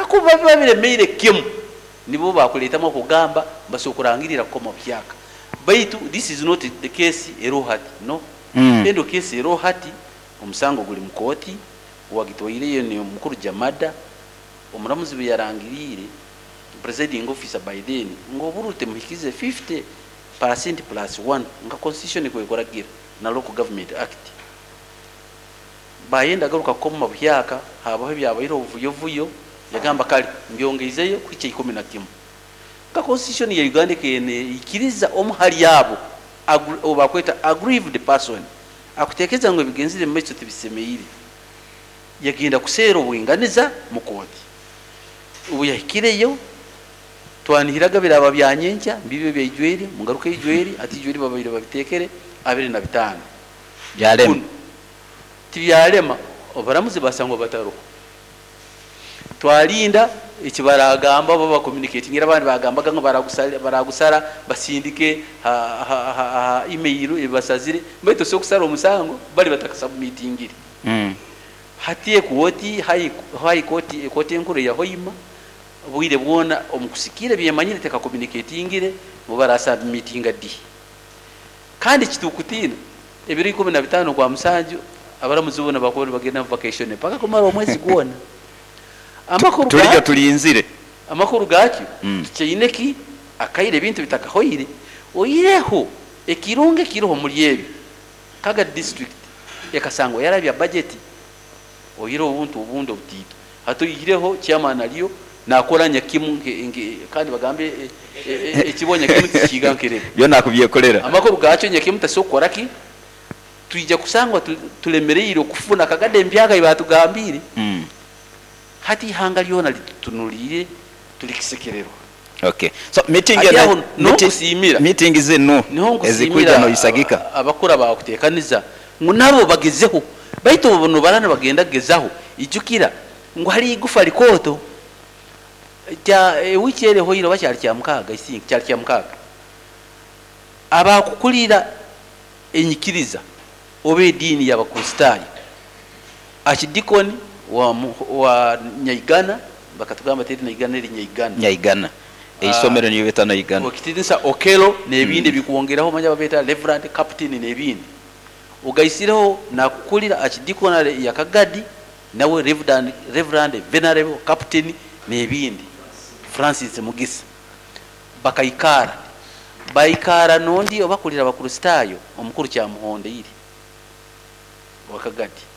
Kakuba biba biremeire kimu, nibo bakuleetamu okugamba basobora kurangirira kukoma buhyaka. Baitu this is not the case eroho hati, no. Eno case eroho hati, omusango guli mu kooti, owagitwaireyo ni omukuru Jamada, omuramuzi bwe yarangiriire, presiding officer by then, ngu obururu temuhikize 50% plus 1 nka constitution kwekuragira na Local Government Act. Bayenda garuka kukoma buhyaka, habaho ebyabaire obuvuyovuyo, yagamba kale mbyongeizeyo kuhikya 11. Nka constitution ya Uganda ekene ikiriza omu hali abo obakweta aggrieved person akuteekeza ngu ebigenzire mu maiso tibisemeire, yagenda kuseera obwinganiza mu kooti. Obu yahikireyo, twanihiraga biraba bya nyenkya mbibyo byaijweri mugaruka ijweri ati ijweri babaire babitekere 25. Byalema. Tibyalema, obaramuzi basangwa bataroho. Twalinda ekibaragamba bo bacommunicatingira, abandi bagambaga ngu baragusara basindike ha email ebasazire, baitu si okusara omusango bali batakasubmitingire. Hati ekooti high court, ekooti enkuru ya Hoima bwire bwona omukusikire byemanyire tekakommunicatingire ngu barasubmitinga di. Kandi kitukutina ebiro 15 kwa musanju abaramuzi bona bakuba nibagenda mu vacation paka kumara omwezi gwona. Amakuru tulijjo tulinzire. Amakuru gakyo tukyaine ki akaire ebintu bitakahoire, oireho ekirungi ekiriho muri ebyo Kagadi district ekasangwa yarabya budget, oireho obuntu obundi obutiito. Hati oihireho chairman aliyo nakora nyakimu kandi bagambe ekibwa nyakimu tikiiga nkerebe. Byona akubyekolera. Amakuru gakyo nyakimu tasobola kukora ki? Twija kusangwa tulemereire okufuna Kagadi empyaka eyi batugambire. Hati ihanga lyona litutunulire tulikisekererwa. Okay. So meeting Hati aho n'okusiimira. Meeting zinu Niho ezikuija nkusiimira noisagika. Abakura bakutekaniza ngu nabo bagezeho, baitu obu barana bagenda kugezaho, ijukira ngu hari igufa likooto kya ewiki eri ehoire oba kyali kya mukaaga, I think kyali kya mukaaga, abakukulira enyikiriza oba ediini y'Abakristaayo, archdeacon wa Nyaigana, bakatugamba teri Naigana, eri Nyaigana. Nyaigana. Eisomero niyo beta Naigana. Okitinisa Okelo n'ebindi ebikwongeraho, manya babeta reverend, captain n'ebindi. Ogaisireho nakukulira archdeaconry ya Kagadi, nawe reverend, venerable, captain n'ebindi, Francis Mugisa. Bakaikara baikara nondi obakulira Abakristaayo, omukuru Kyamuhondeire wa Kagadi.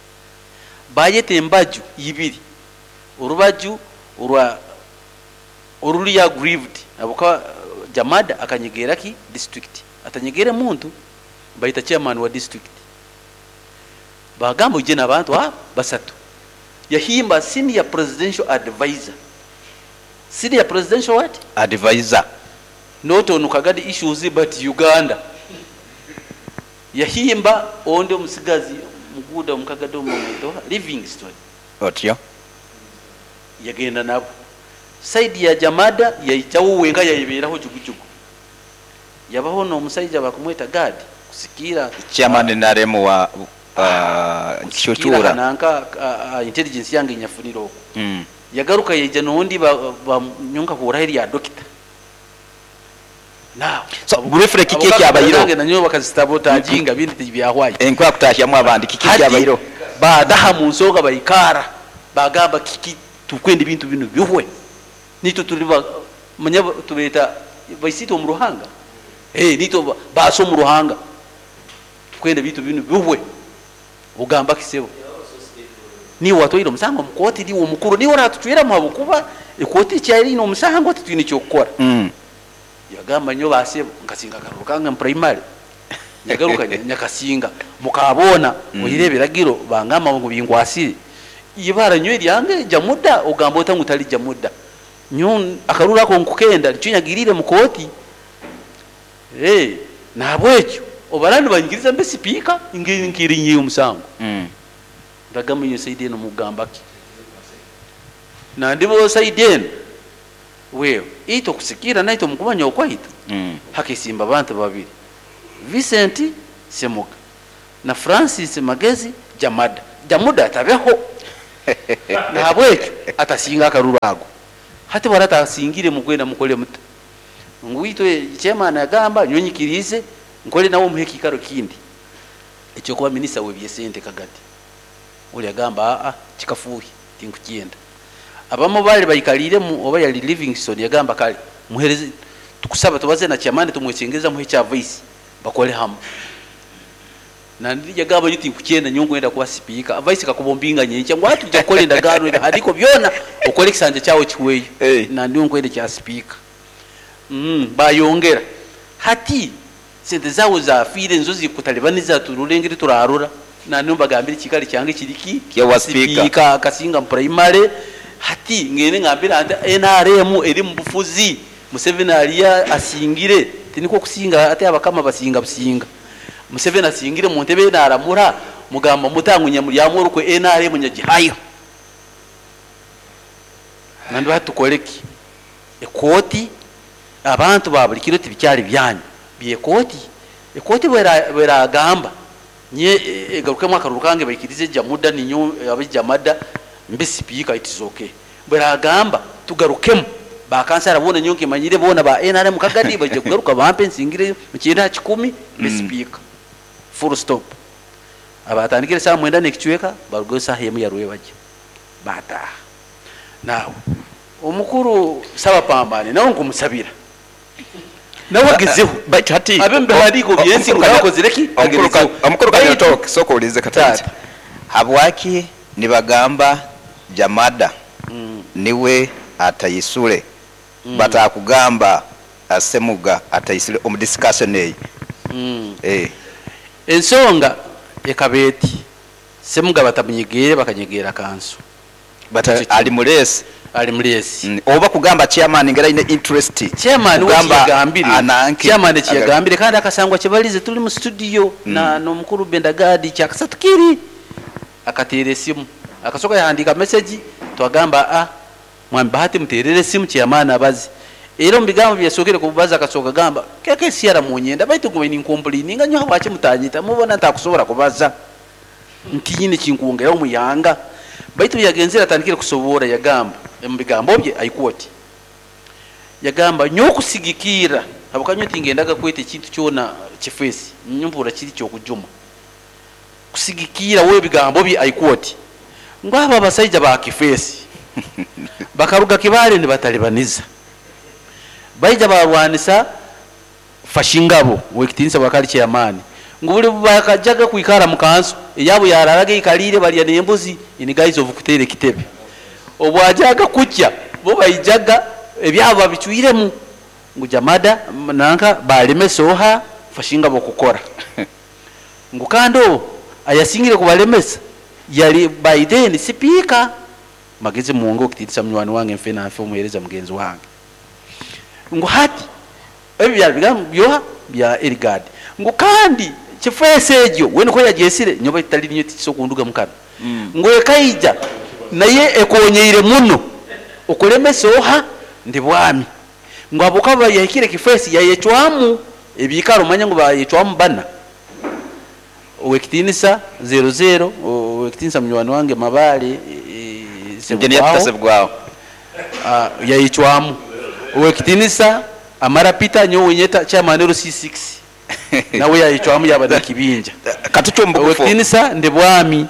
Bayeta embaju ibiri, orubaju orwa oruri aggrieved abuka Jamada akanyegera ki district atanyegere muntu, baita chairman wa district, bagamba uje n'abantu abo basatu. Yahimba senior presidential advisor, senior presidential what? Advisor. Not on Kagadi issues but Uganda. Yahimba ondi omusigazi muguda omukagadi omumwetoha Livingstone. Otyo. Yagenda nabo. Side ya Jamada yaijawo wenka, yayeberaho jugujugu, yabaho n'omusaija bakumweta Gad kusikira Chairman NRM wa kusikira Kishuchura. Nanka intelligence yange nyafunire okwo. Yagaruka yaija n'ondi banyonka huraho erya dokita. Now, So, briefly, kiki ekyabayireho? Nanyo bakazitabotajinga bindi tibyahwayo. Enkuba kutahyamu abandi, kiki Hati, ekyabayireho? Badaha mu nsonga, baikara bagamba kiki tukwenda ebintu bino bihwe, nitwe tuli manya tubeta baisitwe omu ruhanga, nitwe baasa omu ruhanga, tukwenda ebintu bino bihwe. Ogamba kisebo niwe watwaire omusango omukooti, niwe omukuru, niwe oratucweramu, habwokuba ekooti ekyarine omusango titwine ekyokukora. Yagamba, nyo basebo, nkasinga akaruru kange mu primary, nyagaruka nyakasinga mukabona. Oire ebiragiro bangamba ngu binkwasire ibara nyo eryange Jamuda, ogamba ota ngu tali Jamuda? Nyo akaruru ako nkukenda nikyo nyagirire mu kooti. Nahabwekyo obarandi banyikiriza mbe sipiika nkirinyiye omusango. Ndagamba iyo side eno mugamba ki nandibo side eno wewe ito kusikira naito mukumanya okwaitu. Hakesimba abantu babiri, Vincent Semuga na Francis Magezi Jamada. Jamuda atabeho, nahabwekyo atasinga akaruru ago. Hati bwarata asingire mukwenda mukole muta ngu itwe chairman agamba nyowe nyikirize nkole nawe omuhe ekiikaro kindi ekyokuba minisita w'ebyesente kagati. Oli agamba aa kikafuuhi tinkukyenda. Abamu bali baikaliiremu oba yali Livingstone yagamba kale muhereze tukusaba tubaze na chairman tumwesengereza muhe ekya vice bakole hamu. Nandi yagamba nyowe tinkukyenda nyowe nkwenda kuba sipiika. Vice kakuba ombinga nyenkya ngu hati tujja kukora endagaano ebihandiiko byona okole ekisanja kyawe kihweyo. Nandi nyowe nkwenda ekya sipiika. Bayongera hati sente zawe zafiire nizo zikutalibaniza turore engeri turarora. Nandi mbagambire ekiikaro kyange kiri ki? Kyawa sipiika. Sipiika Kasinga primary. Hati ngende ngambira nti NRM eri mu bufuzi Museveni aliya asingire tiniko kusinga ate abakama basinga businga. Museveni asingire mu ntebe naramura mugamba mutangu nyamulyamu orukwe NRM nyagihayo. Nandi batukoleki ekoti abantu ba buli kiro tibikyali byanyu byekoti ekoti bweragamba nye egarukemu akaruru kange baikirize jamuda ninyo abijamada mbe sipiika it is okay. Bweragamba tugarukemu bakansara bona nyo nkimanyire bona ba NRM kagadi baje kugaruka bampe nsingire mu kyenda kikumi mbe sipiika full stop. Abatandikire saa 9 n'ekicweka barugeyo saaha emu yarwe bajya bataha. Nawe omukuru Sabapambane nawe nkumusabira nawe agezeho Baitu hati abe mbihandiiko byensi ngu nakozire ki? Agezeho. Omukuru Baitu Kanyotoke soko ulize katati. Tata. Habwaki nibagamba Jamada niwe atayisule batakugamba Asemuga atayisule omu discussion eyi. Ensonga ekabeti Semuga batamunyegere bakanyegera kanso. But ali mulesi. Ali mulesi. Oba kugamba chairman ngera ine interest. Chairman Kugamba wekiyagambire. ananke. Chairman ekiyagambire kandi akasangwa kibalize tuli mu studio na n'omukuru Bendagadi kyakasatu kiri akateera esimu akasoka yahandika message twagamba a mwami Bahati muterere esimu chairman abazi. Era omu bigambo byasokere kubaza akasoka gamba keke siara munyenda baitu gwe ni complaininga nyo habwaki mutanyita mubona ntakusobola kubaza ntinyine kinkuongera omuyanga baitu yagenzera atandikire kusobora yagamba mu bigambo bye aikwoti yagamba nyo kusigikira abakanyo tingendaga kwete ekintu kyona kifesi nyumbura kiri kyo kujuma kusigikira we bigambo bye aikwoti ngaba abasajja ba kifesi bakaruga kibale ni batalibaniza baija barwanisa fashingabo wekitinsa bakali chairman ngubuli bakajaga kuikara mukanso eyabo yararaga ikalire balya nembuzi in guise of kutere kitebe obwajaga kutya bo baijaga ebyabo babichwiremu ngu Jamada nanka baleme soha fashingabo kukora ngu kando ayasingire kubalemesa yali Biden sipika magezi muongo kititisa mnywani wange mfe na mfe omuhereza mugenzi wange ngu hati ebyo byali bigambo byoha bya Erigad ngu kandi kifese egyo we niko yagyesire nyoba itali niyo tikiso kunduga mukana ngu ekaija naye ekonyeire muno okulemesa oha ndi bwami ngu abokaba yahikire kifesi yayecwamu ebikaro manya ngu bayecwamu bana owekitinisa 00 owekitinisa munywani wange Mabale Engineer Sebugwawo. Sebugwawo. Yayicwamu owekitinisa Amara Peter nyowe nyeta chairman C6 nawe yayicwamu yaba nakibinja Katucho mbugufu. Owekitinisa ndi bwami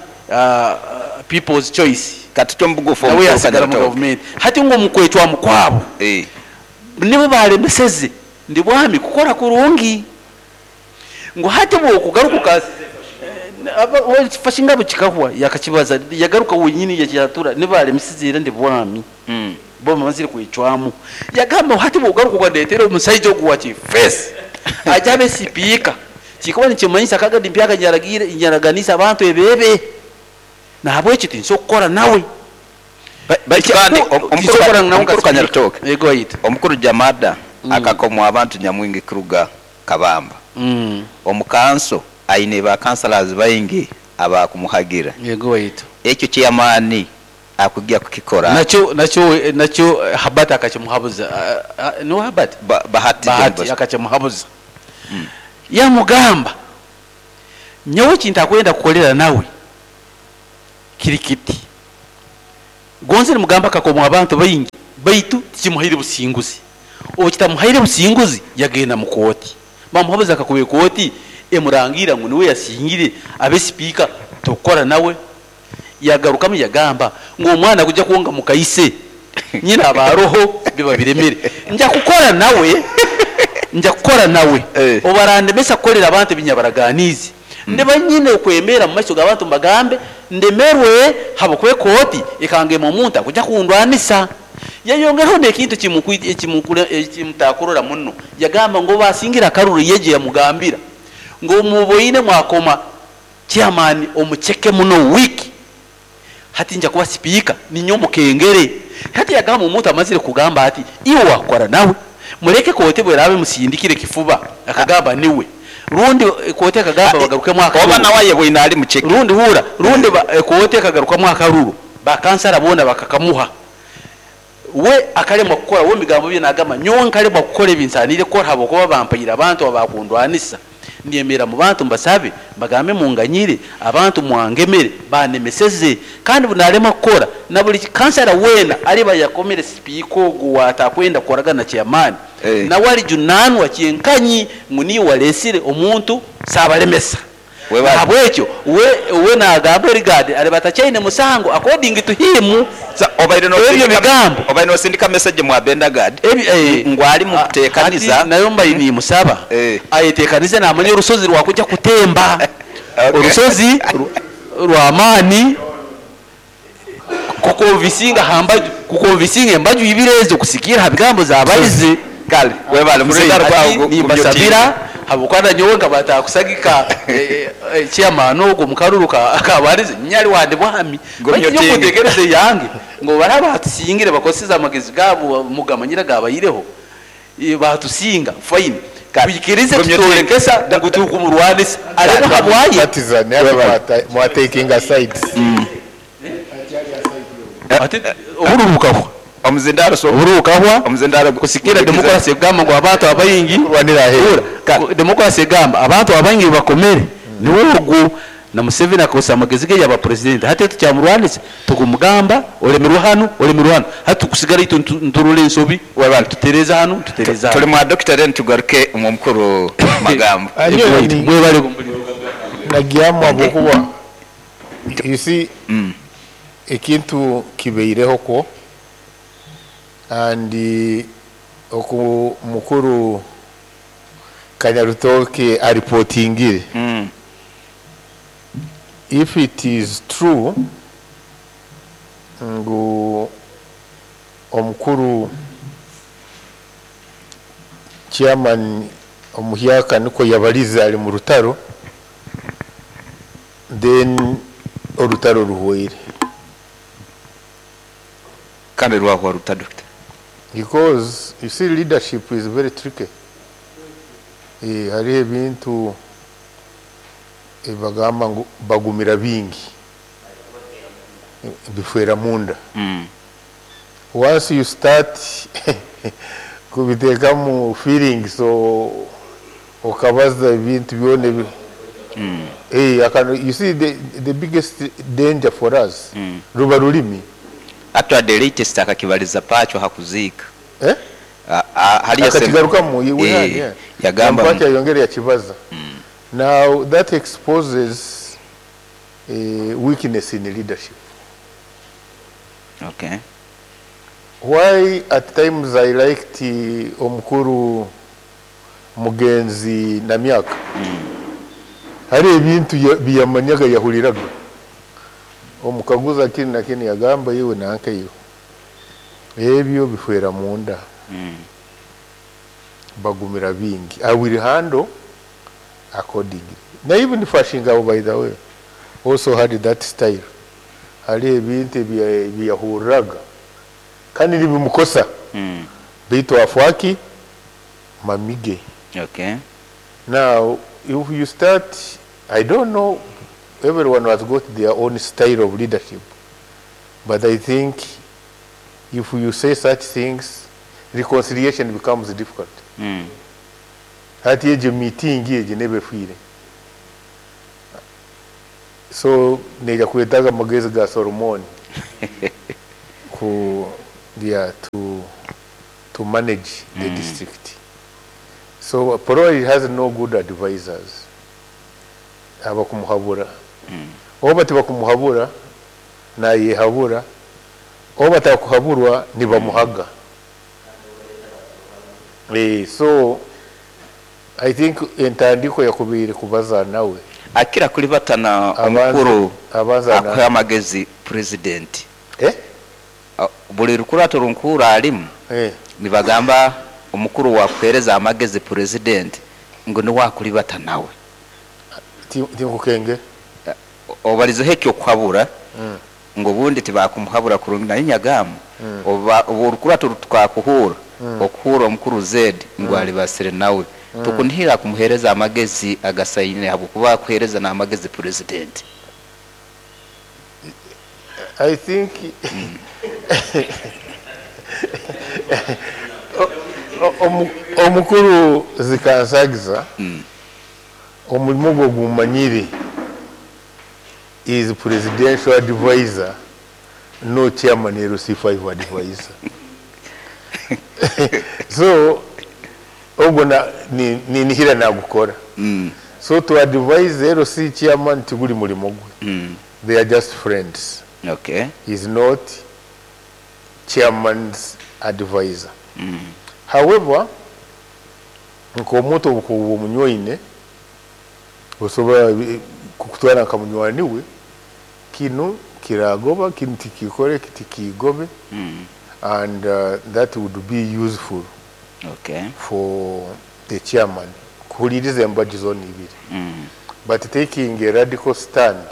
people's choice Katucho mbugufu nawe omukuru yasigala mu Kanyotoke. government hati ngo mukwecwamu kwabo nibo balemeseze ndi bwami kukora kurungi ngo hati bwokugaruka fashinga bukikahwa yakakibaza yagaruka wenyini yakyatura nibalemeseze era ndi bwami bo bamazire kwecwamu yagamba hati bwogaruka ukandetera omusajja ogu wa kifesi ajabe sipiika kikuba nikimanyisa kagadi mpyaka nyaraganisa abantu ebebe nahabwekyo tinsobola kukora nawe. Baitu kandi Tinsobola nawe omukuru nka Kanyarutoke. sipiika. Yego ayita. Omukuru Jamada akakomwa abantu nyamwingi kuruga Kabamba. Omukanso aine ba councillors baingi abakumuhagira. Yego ayita. Ekyo chairman akujja kukikora. Nakyo Habati akakimuhabuza. No Habati? Bahati Bahati John Bosco. akakimuhabuza. Yamugamba nyowe kintakwenda kukolera nawe kiri kiti. Gonze nimugamba akakomwa abantu baingi Baitu tikimuhaire businguzi. Obu kitamuhaire businguzi, yagenda mu kooti. Bamuhabuza akakuba ekooti emurangira ngu niwe yasingire abe sipiika, tukukora nawe. Yagarukamu yagamba ngu omwana kujya kwonka mukaise nyina abaroho biba biremere. Nja kukora nawe, nja kukora nawe. Obarandemesa kukolera abantu ebinyabaraganiize. Ndiba nyine okwemera mu maiso g'abantu mbagambe ndemerwe habwokuba ekooti ekangema omuntu akujja kundwanisa. Yayongeraho n'ekintu ekimutakurora muno. Yagamba ngu basingira akaruru yeje yamugambira ngu muboine mwakoma chairman omucheke muno wiki. Hati nja kuba sipiika ninyo mukengere. Hati yagamba omuntu amazire kugamba ati iwe wakora nawe mureke kooti bwerabe musindikire kifuba akagamba niwe. Rundi kooti akagamba bagarukemu akaruru. Oba nawe bwina ali mucheke. Rundi hura rundi kooti akagarukamu akaruru. Bakansara bona bakakamuha. We akaremwa kukora we migambo bye nagamba nyowe nkaremwa kukora ebinsanire kukora habwokuba bampaira abantu abakundwanisa. Ndiyemera mu bantu mbasabe bagambe munganyire abantu mwangemere banemeseze kandi bunarema kukora na buli kansara wena aliba yakomere sipiika ogu watakwenda kukoragana chairman. Na wali junanwa kyenkanyi nguni walesire omuntu sabalemesa. Habwekyo we nagamba regard alibatachaine musango according to him. Obaire no sindika message mwa Bendagard ngwali mukuteekaniza nayo mbaini musaba ayeteekanize namanya orusozi rwakujja kutemba. Orusozi rwamani kukonvisinga hambaju kukonvisinga embaju ibirezo kusikira habigambo zabalize kale webale musindaro kwa nimbasabira habukwana nyowe nkabata kusagika chairman ogo mukaruruka akabarize nyali wande bwami bakinyo yange ngo baraba batusingire bakoseza amagezi gabo mugamanyira gabayireho batusinga fine bikirize tutorekesa ngutukumurwanisa ariko habwaye partizan mwa taking sides ati oburubukaho omuzindaro so oburubukaho omuzindaro kusikira demokrasi egamba ngo abantu abayingi kurwanira hera demokrasi egamba abantu abayingi bakomere niwe ogu na Museveni akosa amagezi ge yaba president hati tukyamurwanisa tukumugamba olemerwa hano olemerwa hano hati tukusigara itu nturule ensobi tutereza hano tutereza tuli mwa doctor then tugaruke mu mukuru magambo mwebale nagiyamu abokuba you see ekintu kibeireho ko and oku mukuru Kanyarutoke aripotingire. If it is true ngu omukuru chairman omuhyaka niko yabaliza ali mu rutaro, then orutaro ruhweire kandi rwahwa ruta doctor, because you see leadership is very tricky. Hariho ebintu bagamba ngu bagumira bingi bifwera munda. Once you start kubitekamu feelings so okabaza ebintu byone you see the biggest danger for us ruba rulimi. Actually the latest akakibaliza pacho hakuzika akatigarukamu yagamba pacho yongere yakibaza. Now that exposes a weakness in leadership. Okay. Why at times I liked omukuru Mugenzi Namyaka. Hari ebintu biyamanyaga yahuliraga. Omukaguza kini na kini yagamba yiwe nanka yiwe. Ebyo bifwera munda. Bagumira bingi. I will handle accordingly. Now even Fashinga, by the way, also had that style. Hari ebintu biyahuraga. Kandi nibimukosa. Baitu afwaki mamige. Okay. Now if you start, I don't know, everyone has got their own style of leadership. But I think if you say such things, reconciliation becomes difficult. Hati eje meeting eje nebefwire. So neja kwetaga magezi ga Solomon ku Yeah, to manage the district. So probably has no good advisors abakumuhabura, oba tibakumuhabura nayehabura, oba batakuhaburwa nibamuhaga. So I think entandiko yakubiire kubaza nawe. Akira kulibatana omukuru akuha amagezi president. Buli rukurato runkura alimu nibagamba omukuru wakuhereza amagezi president ngo niwakulibata nawe. Tinkukenge obalizeho ekyo kuhabura ngo bundi tibakumuhabura kurungi naye nyagamu oba orukurato tukakuhura okuhura omukuru Z ngo alibasire nawe. Tukunihira kumuhereza amagezi agasaine habwokuba kuhereza n'amagezi president. I think omukuru zikansagiza omulimu gwe gumanyire is presidential advisor, no chairman LC5 advisor. So ogwo ninihira nagukora. So to advise LC chairman tiguli mulimo gwe. They are just friends. Okay. He's not chairman's advisor. However, nkomuntu obukubu omunywaine osobola kukutwara nka munywani we, kino kiragoba, kino tikikore, kitikigobe. And that would be useful. Okay. For the chairman kuhuliriza embaju zona ibiri. But taking a radical stand,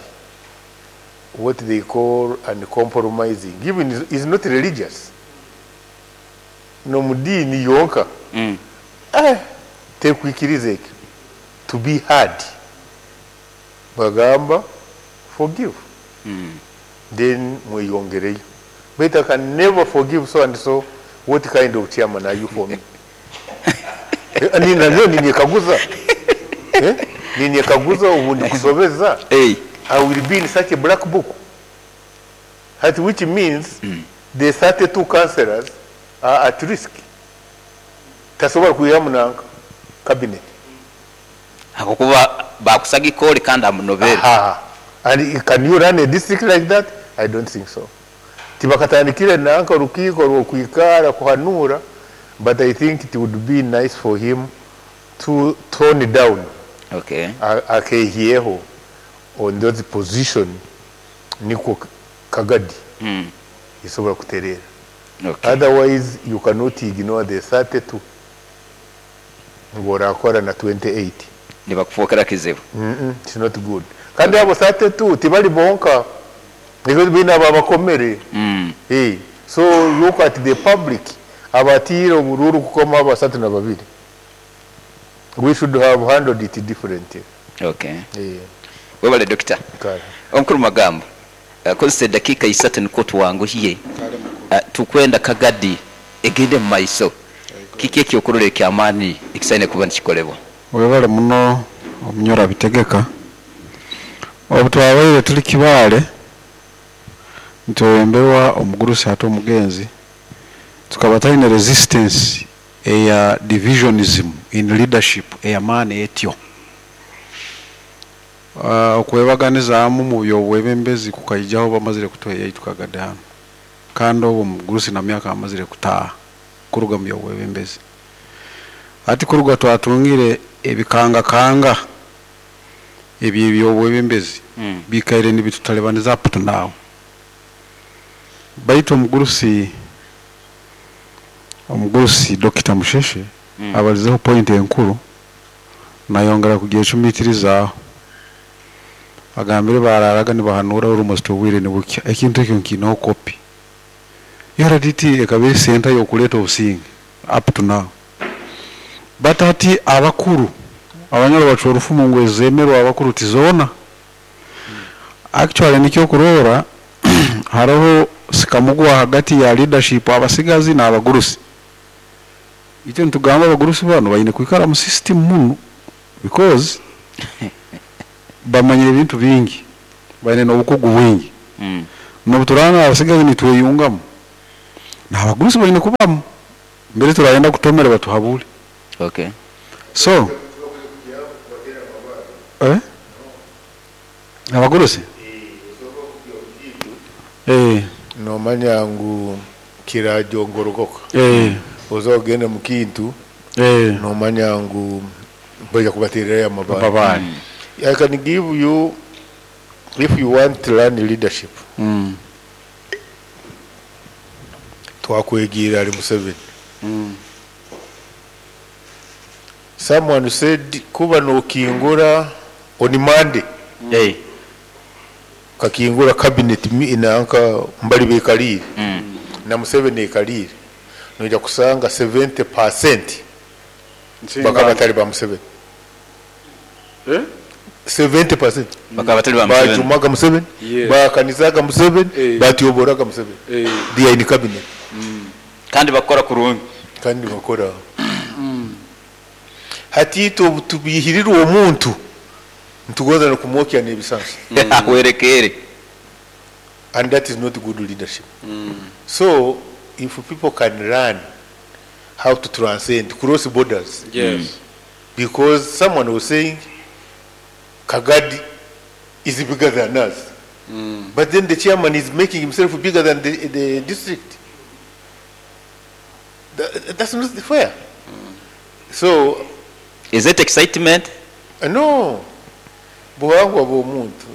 what they call uncompromising, even is not religious. No mudini yonka. Tekwikiriza ekyo. To be hard. Bagamba forgive. Then mweyongereyo. But I can never forgive so and so. What kind of chairman are you for me? Ninekaguza. Ninekaguza ubundi kusobeza. I will be in such a black book. That which means the 32 councillors are at risk. Tasobola kuyamu na cabinet. Hakukuba bakusagi koli kandi amunovera. And can you run a district like that? I don't think so. Tibakatandikire nanka rukiiko rwokwikara kuhanura, but I think it would be nice for him to tone down. Okay. Akehieho on those position niko kagadi. Isobola kuterera. Okay. Otherwise you cannot ignore the 32. Ngorakora na 28. Nibakufokera kizibu. It's not good. Kandi abo 32 tibali bonka. Because bina babakomere. Hey, so look at the public. Abatiro obururu kukoma abasatu na babiri. We should have handled it differently. Okay. Yeah. Webale doctor. Omukuru magambo. Kozesa dakika 3 niko tuwanguhiye. Tukwenda kagadi egende mu maiso. Kiki ekyokurora ekyamaani ekisaine kuba nikikolebwa? Webale muno omunyora bitegeka. Obu twabaire tuli Kibaale ntwemberwa omugurusi ate omugenzi tukaba talina resistance eya divisionism in leadership eyamaani etyo. Okwebaganizaamu mu byobwebembezi kukaijaho bamazire kutuheya tukagade hano, kandi obwo omugurusi na myaka amazire kutaaha kuruga mu byobwebembezi. Ati kuruga twatungire ebikangakanga ebyo byobwebembezi bikaire nibitutalebaniza up to now. Baitu omugurusi Dr. Musheshe abalizeho point enkuru nayongera kugicumitirizaho. Agambire bararaga nibahanura almost obwire nibukya ekintu ekyo nkinaho copy. URDT ekabiri center yokuleta obusinge up to now. But ati abakuru abanyoro bacwa orufumu ngo ezemerwa abakuru tizona. Actually nikyo kurora hariho sikamugwa hagati ya leadership abasigazi n'abagurusi. Icyo ntugamba abagurusi bano bayine kwikara mu system muno because bamanyire ebintu bingi, bayine n'obukugu bwingi. N'obuturanga abasigazi nitweyungamu. N'abagurusi baine kubamu mbere turayenda kutomera batuhabule. Okay. So eh? Abagurusi eh, Nomanya ngu kirajongorokoka. Oza ogende mu kintu nomanya ngu baija kubatererayo amabaare. Babaare. I can give you, if you want to learn leadership, twakwegiira ali Museveni. Someone said kuba nokingura on Monday. Hey. Kakingura cabinet nanka mbali bekalire. Na Museveni ekalire. Noija kusanga 70% bakaba batali ba Museveni. Eh? 70% Bakaba batali ba Museveni. Bajumaga Museveni, Yes. bakanizaga Museveni, Eh. batyoboraga Museveni. Eh. They are in cabinet. Kandi bakora kurungi. Kandi bakora. Hati itwe tubihirira omuntu ntugoza nokumwokya n'ebisansi. Ahwerekere. And that is not good leadership. So if people can learn how to transcend, cross borders. Yes. Because someone was saying Kagadi is bigger than us. But then the chairman is making himself bigger than the district. That's not fair. So, is it excitement? No. Buhangwa bw'omuntu.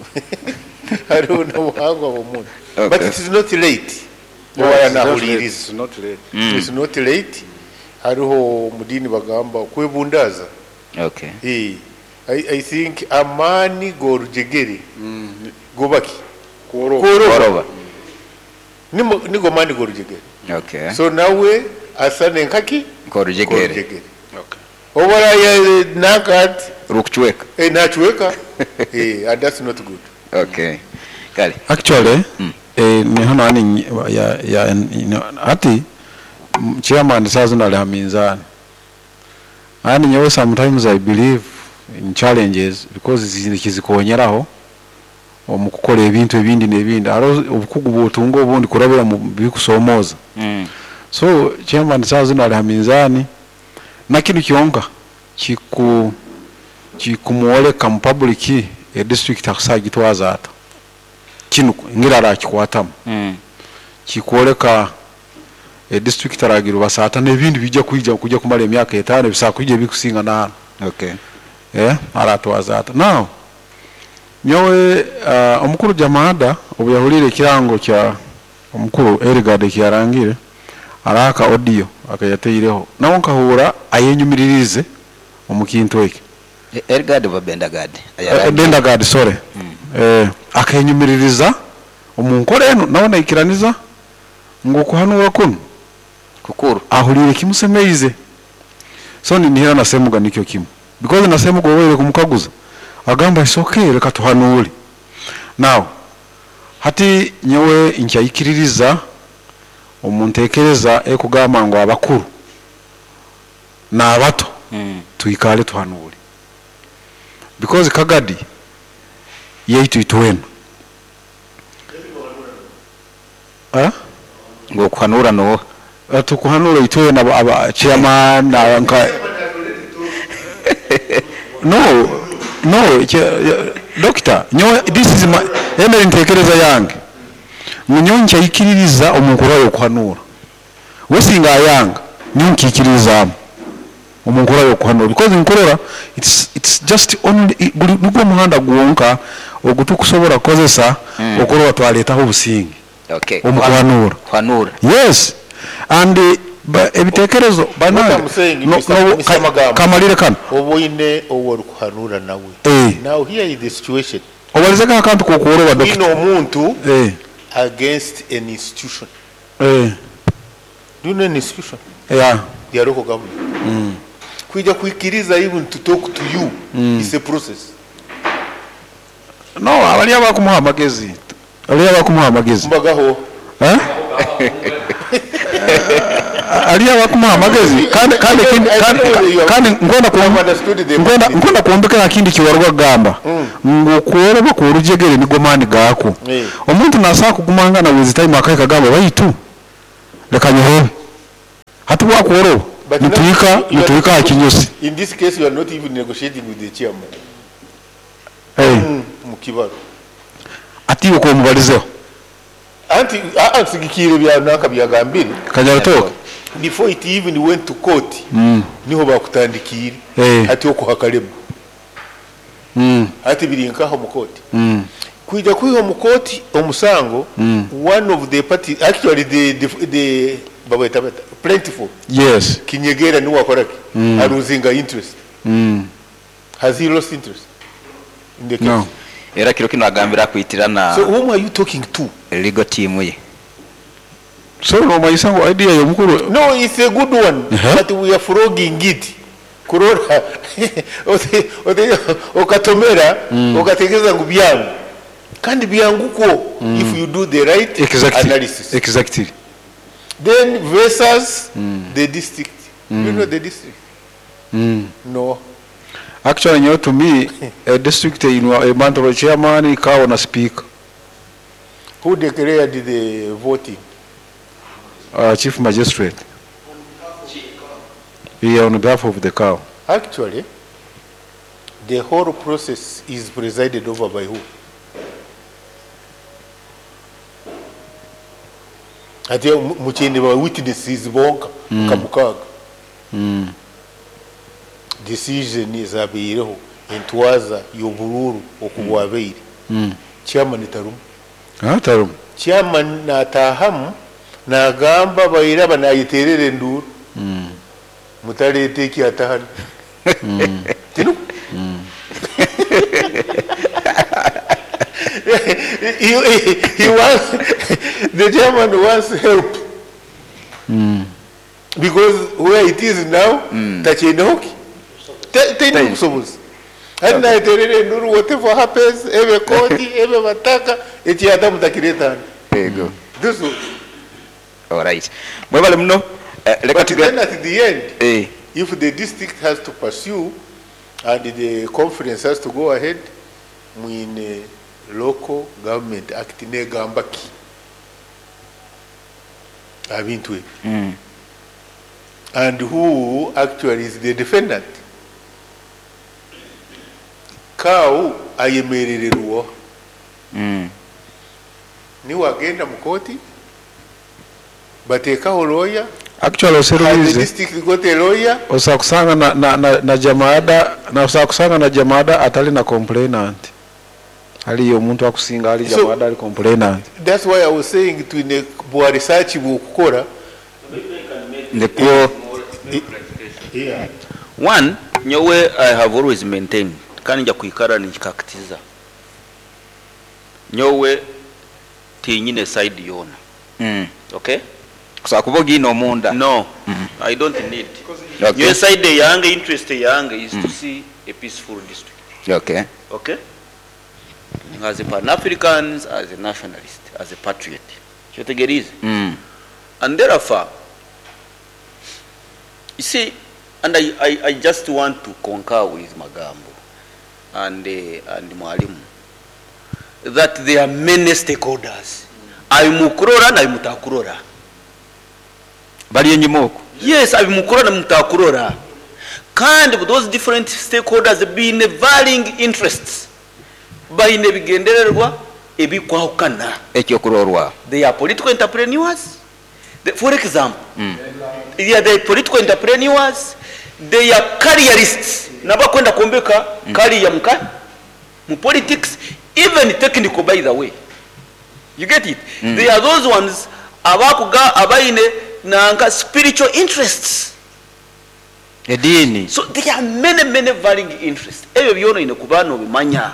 Hariho n'obuhangwa bw'omuntu. Okay. But it is not late. No, Oba it's not late. yanahuliriza. It's not late. It's not late. Hariho mudini bagamba kwebundaza. Okay. I think amani gorujegere. Gobaki. Kworoba. Kworoba. Nigo mani gorujegere. Okay. So nawe asane nkaki Korujegere. Korujegere. Okay. Obara ya nakat Rukuchweka. Nachweka. And that's not good. Okay. Kale. Actually, ni hano ani ya ati chairman sazo na haminzani. Ani nyewe sometimes I believe in challenges because zikonyeraho omu kukola ebintu ebindi n'ebindi. Hariho obukugu bw'otunga obundi kurabira mu bikusomoza. So chairman sazo na haminzani na kinu kyonka kikumwoleka mu public e district akusagitwaza ata. Kinu ngira arakikwatamu. Kikwoleka e district aragira basata n'ebindi bijja kujya kumara emyaka 5 bisakwije bikusinga na hano. Okay. Aratwaza ata. Now nyowe omukuru Jamada obuyahulire ekirango kya omukuru Erigade kyarangire araka audio akayateireho nawo nkahura ayenyumiririze omukintu eki. Erigade oba Bendagade? Bendagade, sorry. Akenyumiririza omunkore eno nawo naikiraniza ngu kuhanura kuno kukuru ahulire kimusemeize. So ninihira nasemuga nikyo kimu because nasemuga oweire kumukaguza agamba it's okay reka tuhanure. Now hati nyewe nkyayikiririza omuntekereza ekugamba ngo abakuru n'abato tuikale tuhanure because Kagadi yaitu itwena ngo kuhanura no tukuhanura itwena aba chairman na nka no doctor nyo this is my emere ntekereza yange munyoncha ikiririza omukuru yo kuhanura wesinga yanga nyonkikiriza omukuru yo kuhanura because nkorora it's just only nugwo muhanda gwonka ogutukusobola kozesa okorora twaletaho obusinge. Okay. Omukuhanura. Kuhanura. Yes. And ebitekerezo banange no kamalire kano oboine owo kuhanura nawe. Now here is the situation. Obalizeka akantu kokuoroba doctor. Ino omuntu against an institution. Do you know an institution? Yeah. The local government. Kuja kuikiriza even to talk to you is a process. No, abali abakumuha amagezi. Ali abakumuha amagezi. Mbagaho. Ali abakumuha amagezi kandi kandi ngonda kuombekera kindi kiwarwa gamba ngo kuoroba ku rujegere nigo mani gako. Omuntu nasa kugumangana with time akaika gamba baitu Leka nyorobe. Hati bwakworoba But now nituhika you are nituhika not- ha kinyosi. In this case, you are not even negotiating with the chairman. Hey, Mukibaro. ati uko mubalizeho. Anti ansigikiire bya nanka byagambire Kanyaratoke. before it even went to court, niho bakutandikiire ati okuhakalema ati biri nkaho mu court, kwija kwiha mu court omusango, one of the party, actually the babeta bata plentiful. Yes. Kinyegera niwe akoraki aluzinga interest. Has he lost interest in the case? No. Era kiro kino agambira akwitira na So whom are you talking to? Legal team ye. So nomanyisa ngu idea y'omukuru No, it's a good one, but we are frogging it. Kurora okatomera okategeeza ngu byangu kandi byangu kwo if you do the right analysis. Exactly. Then versus the district. You know the district? No. Actually, nyowe to me, a district einwa emantoro chairman kawo na speaker. Who declared the voting? Chief magistrate. Yeah, on behalf of the cow. Actually, the whole process is presided over by who? Ate mukyende ba witnesses bonka nka mukaaga. Decision ezabaireho, entwaza y'oburuuru okubwabaire, chairman tarumu. Ah, tarumu. Chairman nataahamu nagamba bairaba nayiterera enduuru, mutaleeta ekyatahano tinu. He wants, the chairman wants help because where it is now, takyendehoki taine busobozi hati nayiterera enduuru, whatever happens, ebe kooti ebe bataka ekyata mutakireeta hano. Ego. This one. Alright, mwebale muno. Leka But tuge then at the end, if the district has to pursue and the conference has to go ahead, mwine Local Government Act negamba ki abintu ebyo and who actually is the defendant? Kawu ayemerererwa niwe agenda mu kooti bateekaho lawyer. Actually, Has the oserulize district got a lawyer? osakusanga na jamaada na osakusanga na jamaada atali na complainant aliyo omuntu akusinga ali jamaada ali complainant. That's why I was saying twine bwa research bwokukora. Nikwo. Yeah. One, nyowe I have always maintained kandi nja kwikara nikikakitiza nyowe tinyine side yona. Okay. Kusobola kuba ogiina omunda. No, I don't need. Okay. Nyowe side yange, interest yange is to see a peaceful district. Okay, as a Pan-Africans, as a nationalist, as a patriot, kyotegerize. And therefore, you see, and I just want to concur with Magambo and Mwalimu that there are many stakeholders. Abimukurora na abimutakurora. Bali enyuma okwo. Yes, abimukurora na mutakurora. Kandi with those different stakeholders being varying interests, baine ebigendererwa ebikwahukana. Ekyokurorwa. They are political entrepreneurs. For example, they are the political entrepreneurs, they are careerists, nabakwenda kuombeka career muka mu politics, even technical, by the way. You get it? They are those ones abakuga abaine nanka spiritual interests. Ediini. So there are many, many varying interests. Ebyo byona ine kuba nobimanya.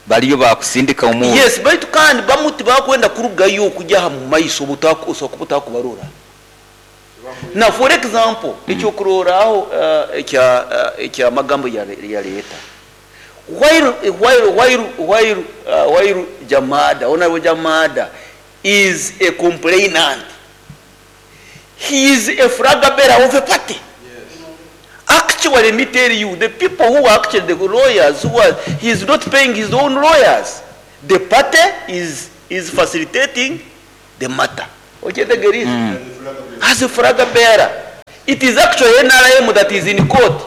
Baliyo bakusindika omuntu. Yes, baitu kandi bamu tibakwenda kurugayo okujya mu maiso osobola kuba otakubarora. Now, for example, ekyokurorraho ekya magambo ya leta. While Jamada, Honorable Jamada is a complainant, he is a flag bearer of a party. Actually, let me tell you, the people who are actually the lawyers, who are, he is not paying his own lawyers. The party is facilitating the matter. Okyetegeriize? As a flag bearer. It is actually NRM that is in court.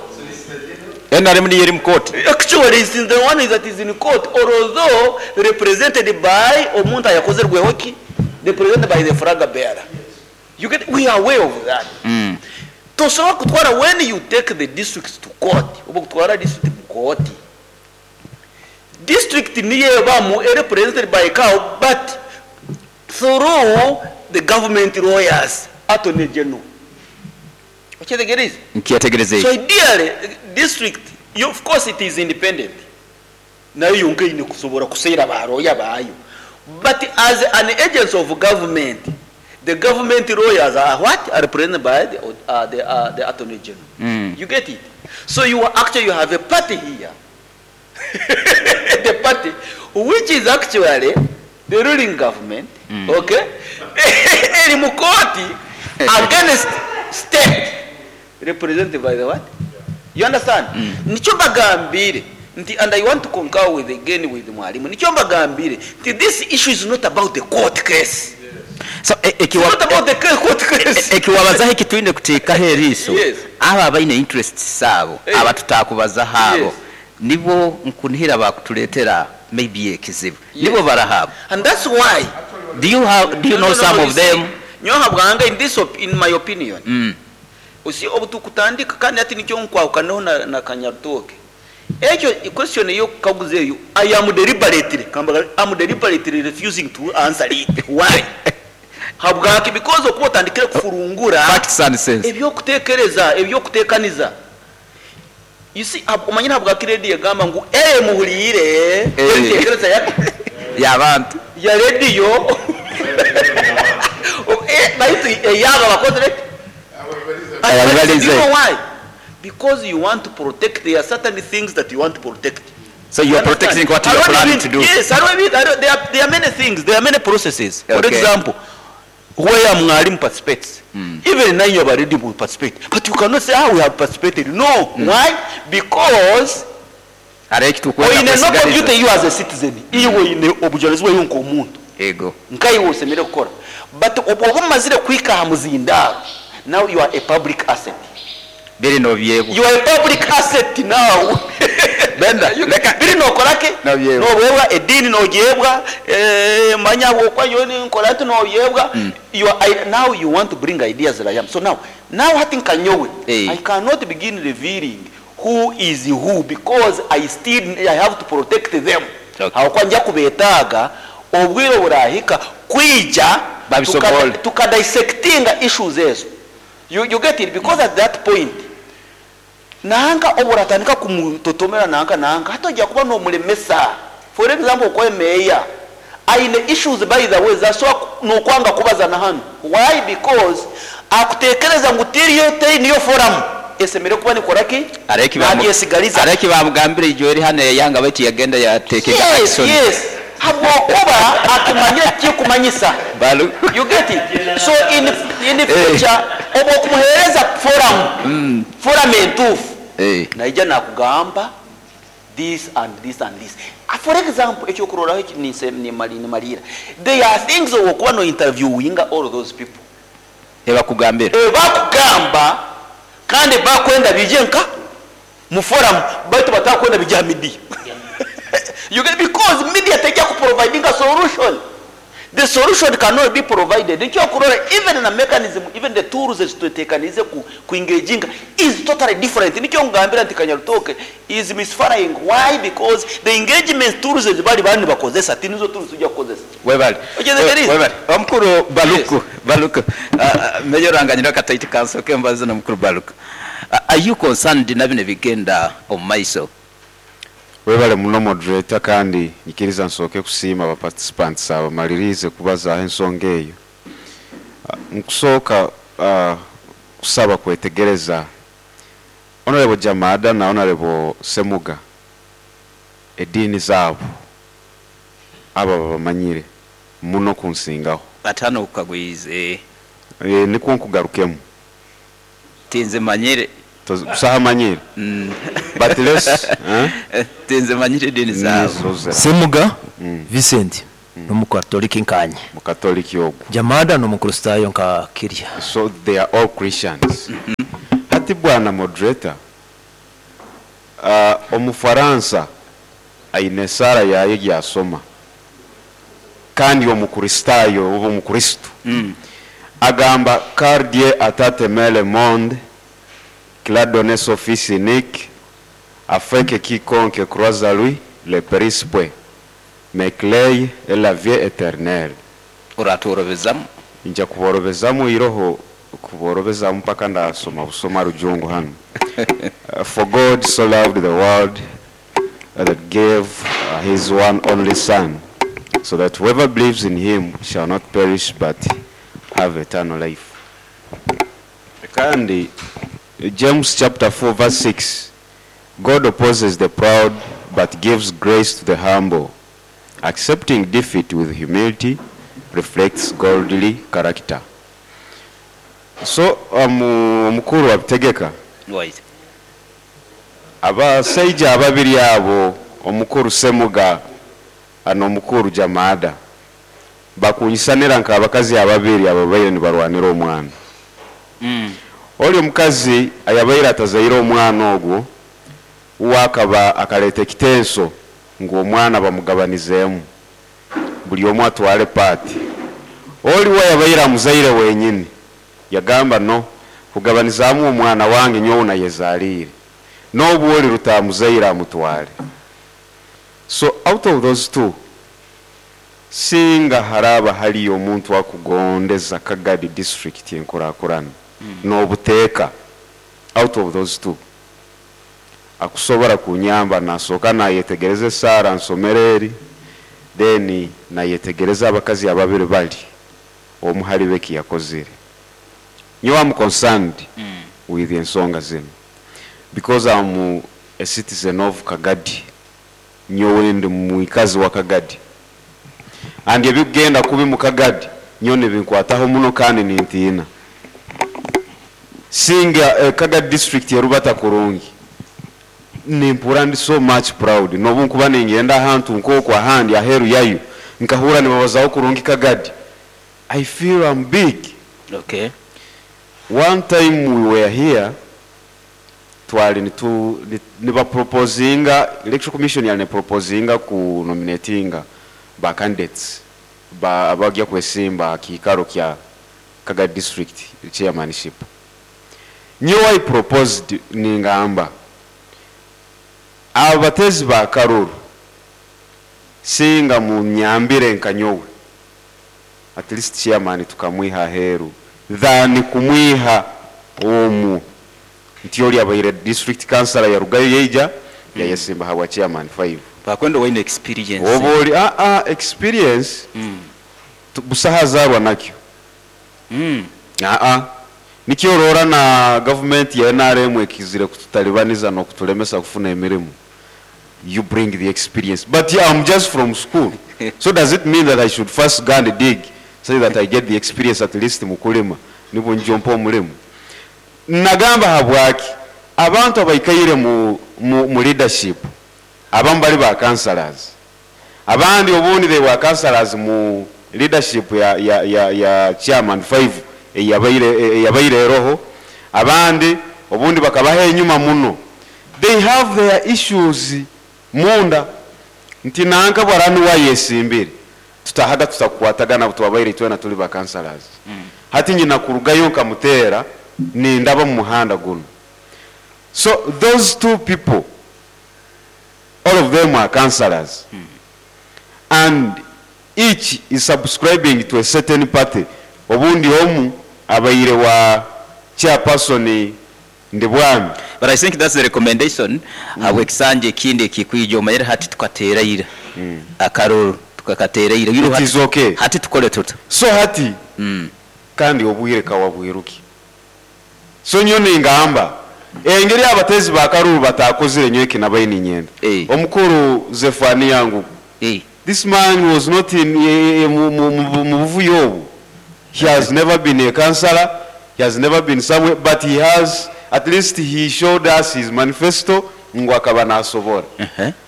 NRM niyo eri mu kooti. Actually, it's the one that is in court, although represented by omuntu ayakozerweho ki? Represented by the flag bearer. You get, we are aware of that. Tosobola kutwara, when you take the districts to court, oba kutwara district mu court, district niyo ebamu represented by cow, but through the government lawyers, attorney general. Okyetegereza? Nkyetegereza. So ideally, district, you, of course it is independent. Nayo yonka ine kusobora kuseera baroya bayo. But as an agency of government, the government lawyers are what? Are represented by the attorney general. You get it? So you are actually, you have a party here. The party, which is actually the ruling government, okay? Eri mu kooti against state represented by the what? You understand? Nikyo mbagambire nti, and I want to concur with again with mwalimu, nikyo mbagambire nti this issue is not about the court case. So It's not about the court case. Ekiwabazaho ekitwine kuteekaho eriiso, Yes. abo abaine interests abo, abatutakubazaho abo, nibo nkunihira bakutuleetera maybe ekizibu, nibo barahabo. And that's why Do you No, know no, no, some no, of you see, them? Nyoha bwanga, in my opinion, usi obutukutandika kandi ati nikyo nkwahukanaho na Kanyarutoke. Ekyo question eyo kaguza eyo, I am deliberately kambaga, I am deliberately refusing to answer it. Why? Habwaki? Because okuba otandikire kufurungura Facts and sense. Ebyokutekereza, ebyokutekaniza. You see, omanyire habwaki radio egamba ngu muhuliire entekereza ya y'abantu ya radio, baitu eyaba bakozere. Ababalize. You know why? Because you want to protect, there are certain things that you want to protect. So you are protecting what you are Hariho planning n'ibindi- to do. Yes, hariho ibindi- there are many things, there are many processes. For example, where mwalimu participates, even now you have already participate, but you cannot say how we have participated. No, why? Because Hariho ekitukwenda oyine no kwesigaliza. duty you as a citizen, iwe oyine obujurizi bwawe nk'omuntu, Ego. nkaiwe osemere kukora, but oba omazire kwika aha muzindaaro, now you are a public asset. Biri nobyebwa. You are a public asset now. Benda, Biri nokorake. Nobyebwa. Nobyebwa edini, nogyebwa, manya bwokwayo nkola nti nobyebwa. You are, now you want to bring ideas like am. So now hati nkanyowe, I cannot begin revealing who is who because I still, I have to protect them. Aho nja kubetaaga obwire burahika kwija Babisobole. Tukadissectinga issues ezo. You get it? Because at that point nanka oburatandika kumutotomera nanka hatojja kuba n'omulemesa. For example, okwe meya aine issues, by the way, zasobola n'okwanga kubaza na hano. Why? Because akutekereza ngu tiriyo teri niyo forum esemere kuba nikoraki nabyesigaliza. Areki bamugambire ijo eri hano yayanga, baitu yagenda yatekega action. Yes, habwokuba akimanyire kikumanyisa. Balu. You get it? So in the future oba okumuhereza forum entuufu, naija nakugamba this and this and this. For example, ekyokuroraho eki nimalira, there are things owokuba no interviewinga all those people, Ebakugambira. Bakugamba kandi bakwenda bije nka mu forum, baitu batakwenda bija media. You get? Because media tejja kuproviding a solution. The solution cannot be provided. Ekyokurora, even na mechanism, even the tools ezitutekanize ku engaging is totally different. Nikyo ngambira nti Kanyarutoke is misfiring. Why? Because the engagement tools ezibali bani bakozesa tinizo tools tujja kukozesa. Webale. Okyeze. Webale. Omukuru Baluku, Baluku, Mayor Ranganyira Kataiti Council kembaza na mukuru Baluku, are you concerned na bino bigenda omu maiso? Webale muno, moderator, kandi nyikiriza nsooke kusiima aba participants abamalirize kubazaaho ensonga eyo. Nkusooka kusaba kwetegereza Honorable Jamada na Honorable Semuga, eddiini zaabo abo babamanyire muno kunsingaho. Batano kukagwize. Nikwo nkugarukemu. Tinze manyire. Busaha manyire. But let's Tinze manyire eddiini zaabo. Nizo Semuga Vincent. N'omukatoliki nkanye. Mukatoliki ogu. Jamada n'Omukristaayo nka Kirya. So they are all Christians. Hati bwana moderator, Omufaransa aine esaara yaye egyasoma kandi Omukristaayo oba Omukristo agamba, Car Dieu a tant aimé le monde qu'il a donné son fils unique afin que quiconque croit à lui ne périsse point mais qu'il ait la vie éternelle. Oratworobezamu? Nja kuborobezamu iroho kuborobezamu mpaka ndasoma busoma rujungu hanu. For God so loved the world that gave his one only son, so that whoever believes in him shall not perish but have eternal life. Kandi James chapter 4 verse 6, God opposes the proud but gives grace to the humble. Accepting defeat with humility reflects godly character. So omukuru abitegeka. Right. Abasaija ababiri abo, omukuru Semuga n'omukuru Jamada, bakunyisanira nk'abakazi ababiri ababaire nibarwanira omwana. Oli omukazi ayabaire atazaire omwana ogwo, uwe akaba akaleta ekitenso ngu omwana bamugabanizeemu, buli omu atwale paati. Oli we yabaire amuzaire wenyini yagamba, no kugabanizaamu omwana wange nyowe nayezaliire, n'obu oli rutamuzaire amutwale. So out of those two, singa haraba haliyo omuntu akugondeza Kagadi district enkurakurana n'obuteeka, out of those two akusobora kunyamba, nasooka nayetegereza esaara nsomero eri, then nayetegereza abakazi ababiri bali omu hali beki yakozire. Nyowe am concerned with ensonga zinu because I'm a citizen of Kagadi. Nyowe ndi mwikazi wa Kagadi, and ebikugenda kubi mu Kagadi nyowe nibinkwataho muno kandi nintiina. Singa Kagadi district erubata kurungi, nimpura ndi so much proud. Nobu nkuba ningenda ahantu nk'oku ahandi aheru yayo, nkahura nibabazaho kurungi Kagadi, I feel I'm big. One time we were here, twali nibaproposinga, Electoral Commission yali neproposinga ku nominatinga ba candidates ba abagya kwesimba kiikaro kya Kagadi district chairmanship. Nyowe I proposed, ningamba abatezi ba karuru singa munyambire nka nyowe, at least chairman tukamwiha aheru than kumwiha omu nti oli abaire district councillor yarugayo yeija yayesimba habwa chairman 5. Bakwenda waine experience. Oba oli experience busaha zarwa nakyo. Nikyo orora na government ya NRM ekizire kututalibaniza n'okutulemesa kufuna emirimu. You bring the experience, but yeah, I'm just from school. So does it mean that I should first go and dig so that I get the experience at least mukulima nibwo njompa omulimu? Nagamba habwaki abantu abaikaire mu leadership, abamu bali ba councillors, abandi obundi they were councillors mu leadership ya chairman 5 eyabaire eroho, abandi obundi bakabaha enyuma muno. They have their issues munda nti nanka bwarani wayesimbire tutahaga tutakwatagana twabaire twena tuli ba councillors. Hati nyina kurugayo nkamutera nindaba mu muhanda guno. So those two people, all of them are councillors, and each is subscribing to a certain party. Obundi omu abaire wa chairperson Ndibwami. But I think that's the recommendation. Habwekisanja ekindi ekikwija omanyire hati tukateera akaruru tukakateera ira. It is okay. Hati tukole tuta. So hati kandi obwire kawabwiruki. So nyo ningamba engeri abatezi bakaruru batakozire nyo ekinabaye ninyenda. Omukuru Zefania yangu. This man was not in mu buvuyo obu. He has never been a councillor. He has never been somewhere, but he has, at least he showed us his manifesto ngu akaba nasobora.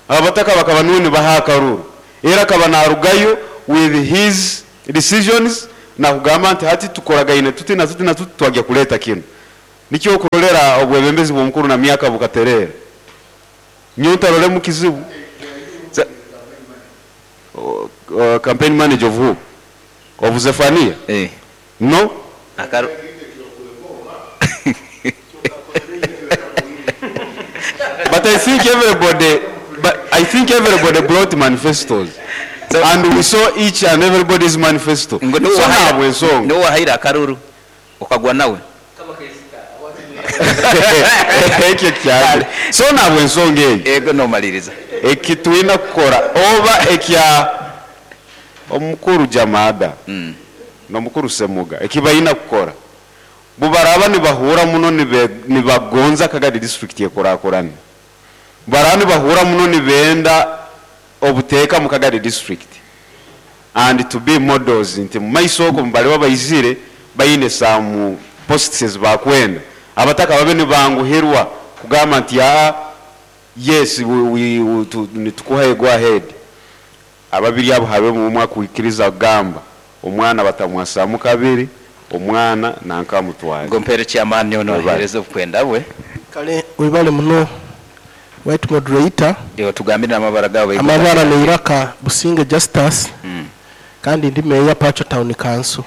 Abataka bakaba nuni baha akaruru. Era akaba narugayo with his decisions, nakugamba nti hati tukoragaine tuti na tuti na tuti, twagya kuleeta kinu. Nikyo okurolera obwebembezi bw'omukuru na myaka bukaterera. Nyowe ntarolemu kizibu. Campaign manager of who? Of Zephania? Eh. No. But I think everybody brought manifestos. So, and we saw each and everybody's manifesto. Ngo So ntabwo ensonga. niwe wahaire akaruru ukagwa nawe. Ekyo kyali. So ntabwo ensonga eyo. Ego nomaliriza. Eki twina kukora oba ekya omukuru Jamada n'omukuru Semuga eki bayina kukora, bubaraba nibahura muno nibagonza Kagadi district ekurakurana, baraba nibahura muno nibenda obuteeka mu Kagadi district and to be models nti mu maiso okwo mubaliba baizire bayine some posts ezibakwenda, abataka babe nibanguhirwa kugamba nti yes, nitukuha go ahead. Ababiri abo habe mu mwaka kuikiriza kugamba omwana batamwasamu kabiri, omwana nankamutwara. Ngo mpere chairman yono Webale. ahereze okwenda bwe. Kale webale muno white moderator. Yo tugambire n'amabara gawe. Amabara ni Iraka Businge Justus. Kandi ndi meya Pacho Town Council.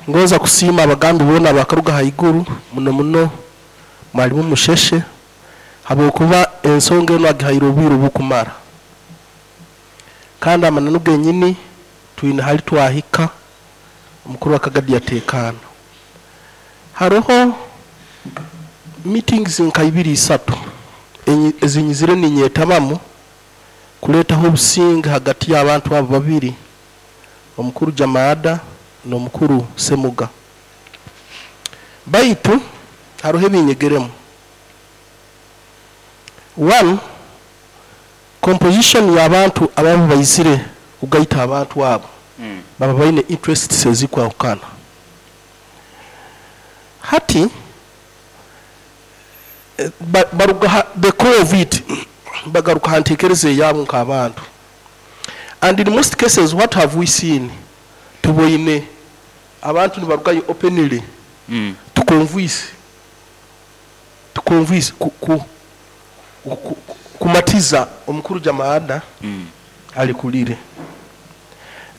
Ngoza kusiima abagambi bona bakaruga haiguru muno muno mwalimu Musheshe habwokuba ensonga eno agihaire obwiru bukumara. Kandi amananu genyini twine hali twahika omukuru wa Kagadi yatekana. Haroho meetings nka ibiri isatu ezinyizire ninyetabamu kuleetaho obusinge hagati y'abantu abo babiri, omukuru Jamada n'omukuru Semuga. Baitu haroho ebinyegeremu. One, composition y'abantu ababa baizire kugaita abantu abo baba baine interests ezikwahukana. Hati baruga the core of it bagaruka hantekereza eyabo nk'abantu. And in most cases what have we seen? Tuboine abantu nibarugayo openly tukonvise kumatiza omukuru Jamada alikulire.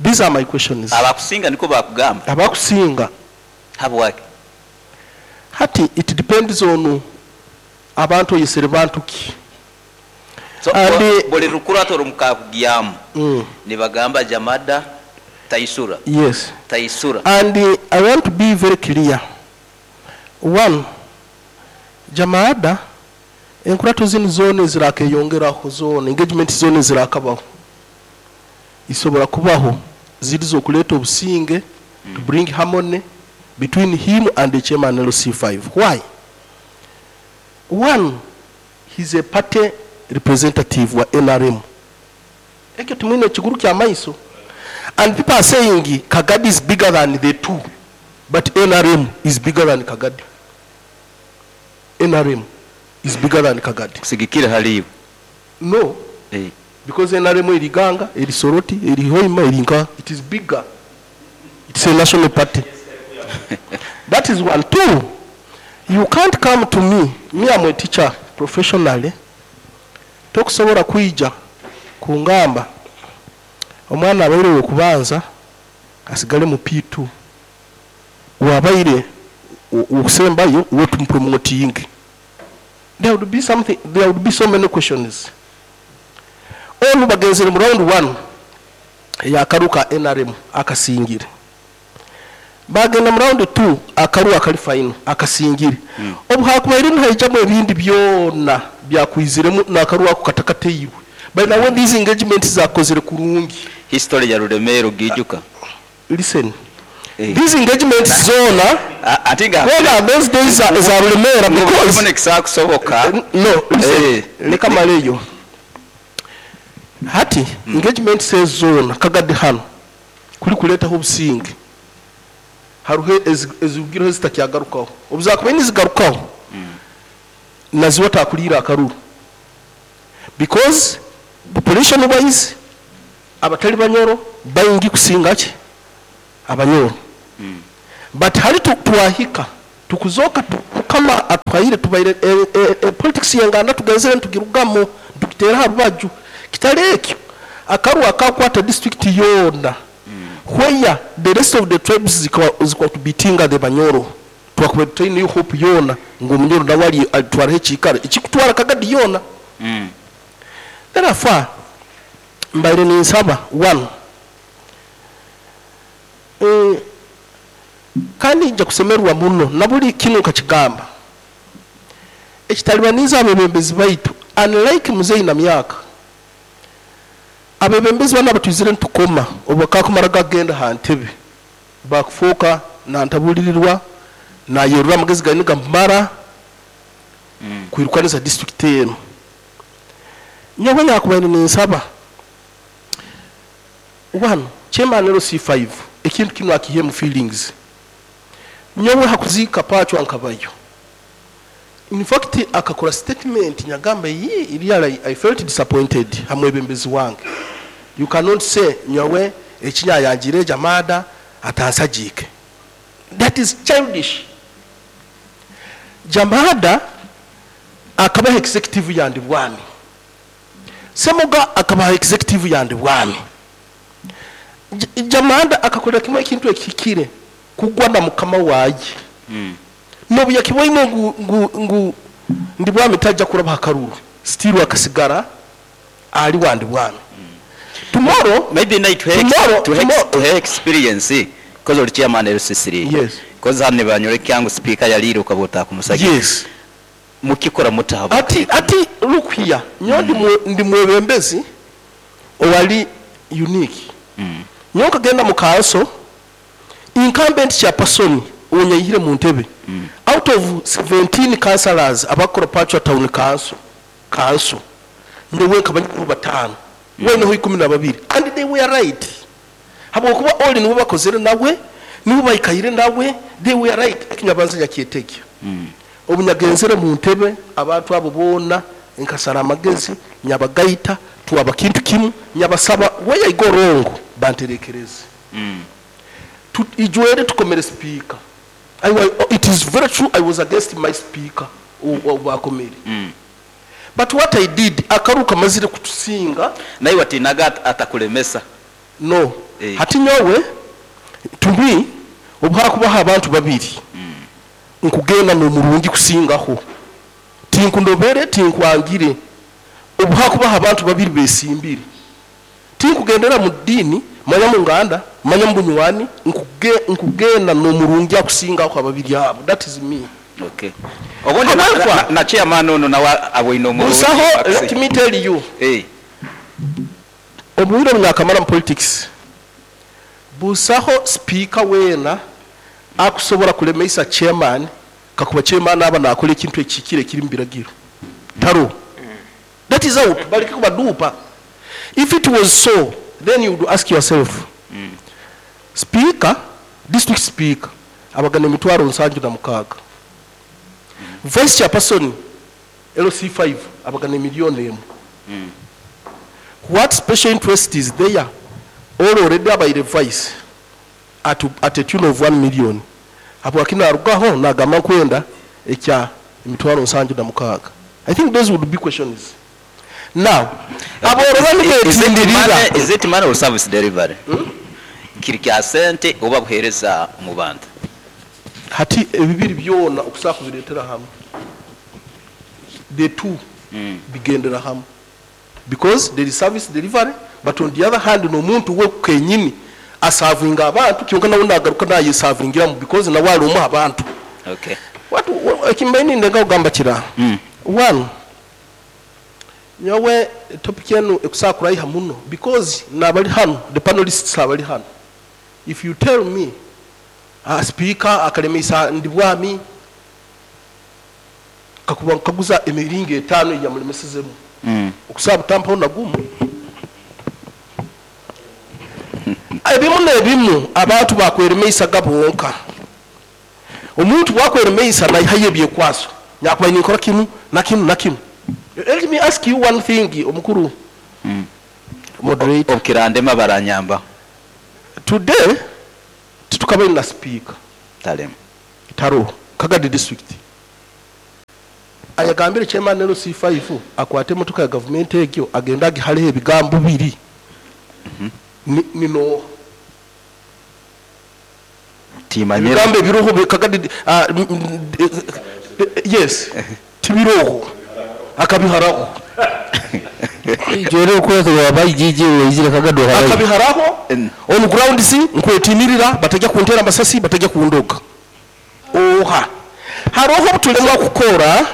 These are my questions. Abakusinga niko bakugamba. Abakusinga. Habwaki? Hati it depends on abantu oyesere bantu ki. So, buli rukurato rumukakugyamu. Nibagamba Jamada taisura. Yes. Taisura. And I want to be very clear. One, Jamada enkurato zino zone zirakeyongeraho zone engagement zone zirakabaho. Isobora kubaho zirizo kuleta obusinge to bring harmony between him and the chairman LC5. Why? One, he's a party representative wa NRM. Ekyo tumwine kiguru kya maiso. And people are saying Kagadi is bigger than the two, but NRM is bigger than Kagadi. NRM is bigger than Kagadi. Kusigikira haliyo. No. Because NRM eri Ganga, eri Soroti, eri Hoima, eri Nka, it is bigger. It's a national party. That is one. Two, you can't come to me. Me, I'm a teacher professionally. Tokusobola kuija kungamba omwana abaire okubanza asigale mu P2, wabaire okusembayo we tumupromoting. There would be something, there would be so many questions. All bagenzere mu round 1 yakaruka NRM akasingire. Bagenda mu round 2 akaru akali final akasingire. Obuhakubaire nhaijamo ebindi byona byakwiziremu nakaru ako katakateiwe. By now when these engagements zakozere kurungi. History ya Ruremero gijuka. Listen. These engagements zona atinga when those days za Ruremera because because kusoboka. No, listen. Leka maleyo. Hati engagement says zona Kagadi hano kuri kuletaho obusinge. Haruhe ezugiro zitakyagarukaho. Obuzakuba nizigarukaho. Naziwa takulira akaruru. Because population wise Abatali Banyoro baingi kusinga ki Abanyoro. But hali twahika tukuzoka Mukama atuhaire tubaire politics yenganda tugenzere ntugirugamu tukitera ha rubaju. Kitali ekyo akarwa akakwata district yona where the rest of the tribes zikwa tubitinga the Banyoro, twakuba tutaine hope yona ngu Omunyoro nawe alitwaraho ekiikaro ekikutwara Kagadi yona. Therefore mbaire ninsaba one, kandi nja kusemerwa muno na buli kinu nkakigamba ekitalibaniza abebembezi baitu, unlike muzeyi na myaka abebembezi bana batwizire ntukoma obakakumara gagenda ha ntebe bakufuuka nantabulirirwa nayerura amagezi gani gamara kwirukaniza district eno. Nyowe nyakubaire ninsaba one, chairman LC5 ekintu kinu akihe mu feelings. Nyowe hakuziika Pachwa nkabayo. In fact akakora statement nyagamba yi really I felt disappointed hamwebembezi wange. You cannot say nyowe ekinyayangire Jamada atansajike. That is childish. Jamada akabaha executive yandi bwami, Semuga akabaha executive yandi bwami. Jamada akakola kimwe ekintu ekikire kugwa na mukama waje. Nobu yakiboine ngu ndi bwami tajja kuraba hakaruru, still akasigara ali wandi bwami. Tomorrow maybe night to Tomorrow, tomorrow. to her experience because oli chairman LC3. Yes. Because hano banyore kyangu speaker yaliro ukabota kumusagi. Yes. Mukikora mutabo. Ati look here, nyo ndi mwebembezi owali unique. Nyo kagenda mu council incumbent chairperson onyayihire mu ntebe. Out of 17 councillors abakora Pachwa Town Council ndowe kabanyuru batano wene ho 12, and they were right. Habwokuba all nibo bakozere nawe, nibo bayikayire nawe, they were right. Ekinyabanza nyakiyetegya. Obunyagenzere mu ntebe abantu abo bona nkasara amagezi nyabagaita tuwaba kintu kimu nyabasaba where I go wrong banterekereze. Ijwere tukomere speaker. It is very true I was against my speaker obakomere. But what I did akaruka mazire kutusinga naye watinaga atakulemesa. No. Hati nyowe to me obwakubaha abantu babiri. Nkugenda n'omurungi kusingaho tinkundobere tinkwangire obwakubaha abantu babiri besimbire tinkugendera mu dini manya mu nganda manya mu bunywani nkugenda n'omurungi akusingaho ababiri abo. That is me. Okay. Obundi na chairman ono nawe aboine omurungi. Busaho, let me tell you. Obwire bunyakamara mu politics busaho speaker wena akusobola kulemesa chairman kakuba chairman aba nakola ekintu ekikire kiri mbiragiro taro. That is out balike kubadupa. If it was so, then you would ask yourself, speaker, district speaker abagana emitwaro 76, vice chairperson LC5 abagana miliyoni 1. What special interest is there? All already abaire vice at a tune of 1 million. Apo akina arugaho nagamba kwenda ekya emitwaro 76. I think those would be questions. Now, is it money or service delivery? Kiri kya sente oba buhereza mu bantu. Hati ebibiri byona okusaka kubiretera hamwe. The two bigendera hamwe. Because there is service delivery, but on the other hand no muntu we kenyini asavinga abantu kyonka nawe nagaruka naye savingira mu because nawe ari umuha abantu. Okay. What ekimbaini ndenga kugamba kira. One, nyowe topic yenu ekusakura iha muno because nabali hano the panelists abali hano. If you tell me speaker akalemesa ndibwami kakuba kaguza emiringo 5 yamulemesezemu. Okusaba tampaho nagumu. Ebimu n'ebimu abantu bakweremesa gabonka. Omuntu wakweremesa nayihaye ebyekwaso nyakuba ninkora kimu na kimu na kimu. Let me ask you one thing omukuru. Moderator. Obukirandema baranyamba. Today titukabaire na speaker. Talemu. Taroho Kagadi district ayagambire chairman LC5 akwate emotoka ya gavumenti egyo agenda agihaleho ebigambo biri. Nino Timanyira. Ebigambo ebiroho Kagadi, yes, tibiroho akabiharaho. Jere okwezi wabaijiji weizire Kagadi waharayo. Akabiharaho on ground si nkwetinirira batajya kuntera amasasi, batajya kundoga. Oha haroho obutulemwa kukora,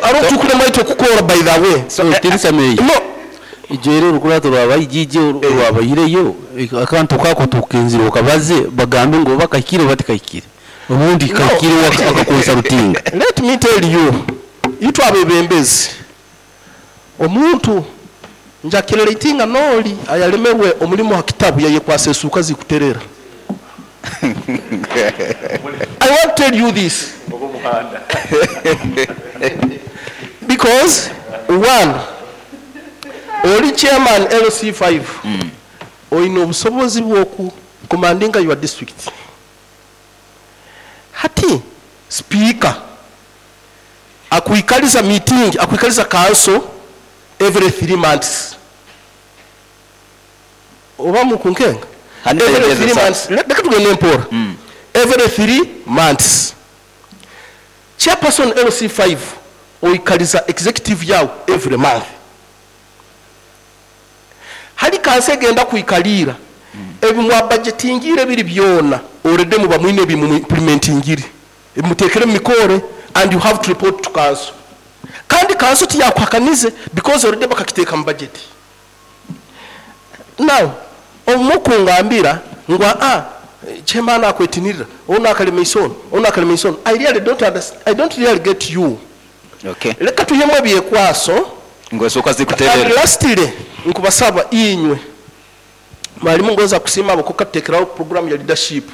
hariho tukulemwa itwe kukora, by the way. So, tirisa meyi. No. Ijere urukurato rwabaijiji rwabayireyo akantu kako tukenzire okabaze bagambe ngo bakakire batikakire. Ubundi kakire wakakonsa rutinga. Let me tell you, itwe abebembezi omuntu njakirera itinga noli ayalemerwe omulimu ha kitabu yayekwasa esuka zikuterera. I want to tell you this because one, oli chairman LC5, oyina obusobozi bw'oku commandinga your district. Hati speaker akuikaliza meeting, akuikaliza council every 3 months. Oba mukunkenga? Hani Every tegeza 3 sa- months. Leka tugende mpora. Every 3 months. Chairperson LC5 oikaliza executive yao every month. Hali kanse egenda kuikalira. Ebimwa budgetingire biri byona already muba mwine bimu implementingire. Ebimutekere mu mikore and you have to report to council. Kandi council tiyakwakanize because already bakakiteka mu budget. Now omukungambira ngo chairman akwetinirira ono akalema isono ono akalema isono, I really don't understand, I don't really get you. Okay. Leka tuhemu ebyekwaso. Ngo esuka zikuterera. And lastly nkubasaba inywe mwalimu ngoza kusima abo kukatekeraho program ya leadership.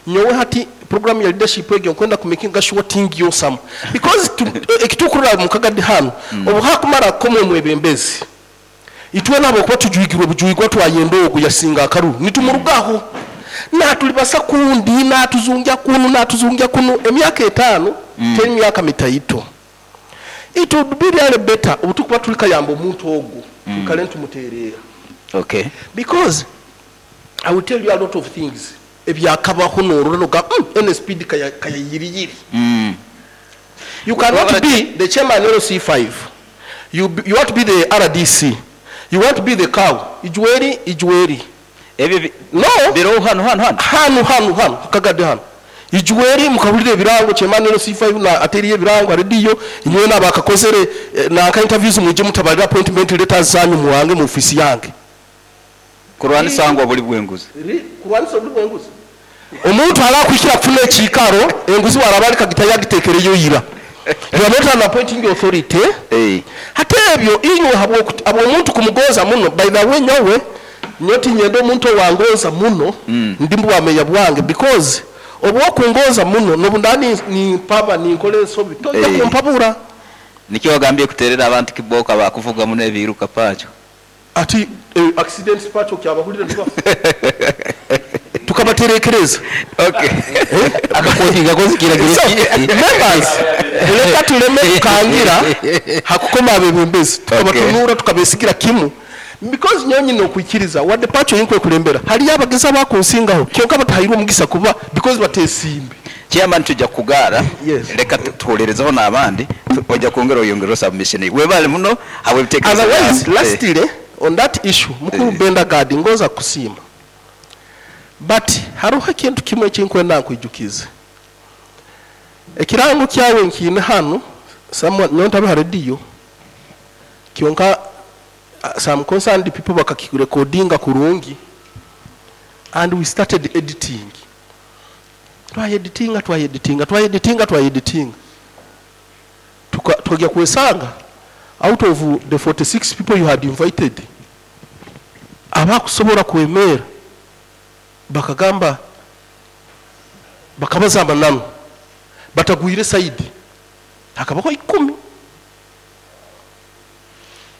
Nyowe hati program ya leadership egyo nkwenda kumakinga sure thing yosam because ekitukurira mu Kagadi hano obu hakumara komwe mwebembezi itwe nabo kuba tujuigirwe bujuigwa twayenda ogu yasinga akaru nitumurugaho natulibasa kundi natuzungia kunu natuzungia kunu emyaka 5 teri myaka mitaito. It would be really better obutukuba tulikayamba omuntu ogu tukale ntumuterera. Okay. Because I will tell you a lot of things ebyakabaho norora NSPD kaya kayiriyiri. You cannot be the chairman LC5. You want to be the RDC. You want to be the cow. Ijweri ijweri. Ebi no biro hano hano hano. Hano hano hano Kagadi hano. Ijweri mukabulire ebirango chairman LC5 na ateriye ebirango radio inywe nabakakozere na ka interviews muje mutabalira appointment letters zanyu muwange mu office yange. Kurwanisa ngo buli bwenguzi. Kurwanisa buli bwenguzi. Omuntu alakwikira kufuna ekikaro enguzi warabalika gitayagitekereyo yira. You are not an appointing authority. Hate ebyo inywe habwo omuntu kumugoza muno. By the way nyowe nyoti nyendo omuntu wangoza muno ndimbu wameya bwange because obwokungoza muno nobundani ni paba ni nkole ensobi tojja kumpabura. Nikyo wagambye kuterera abantu kiboka bakuvuga muno ebiruka pacho. Ati accidents pacho kyabahulira niba tukabaterekereza. Okay. Akakoti gakozi kiragiro. So, members, leka tuleme kukangira hakukoma abebembezi tukabatunura tukabesigira kimu because nyonyi nokwikiriza wadde pacho yinkwe kulembera hali abageza bakunsingaho kyonka batahirwa omugisa kuba because batesimbe. Chairman tujja kugara. Yes. Leka tuwolerezeho n'abandi ojja kwongera oyongera submission webale muno habwe bitekerezo. Otherwise lastly on that issue mukuru Benda Gadi ngoza kusimba but haruho ekintu kimwe ekinkwenda nkwijukize ekirango kyawe nkine hano someone nyontabe ha radio kyonka some concerned people bakakirecordinga kurungi and we started editing. Twayeditinga twayeditinga twayeditinga twayeditinga tukajya kwesanga out of the 46 people you had invited abakusobola kwemera bakagamba bakabazamba nano batagwire side hakabaho 10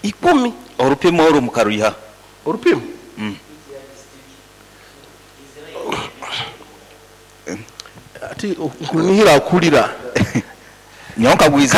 10 Orupimo oru mukaruiha. Orupimo. Ati nkunihira akulira. Nyowe nkagwiza.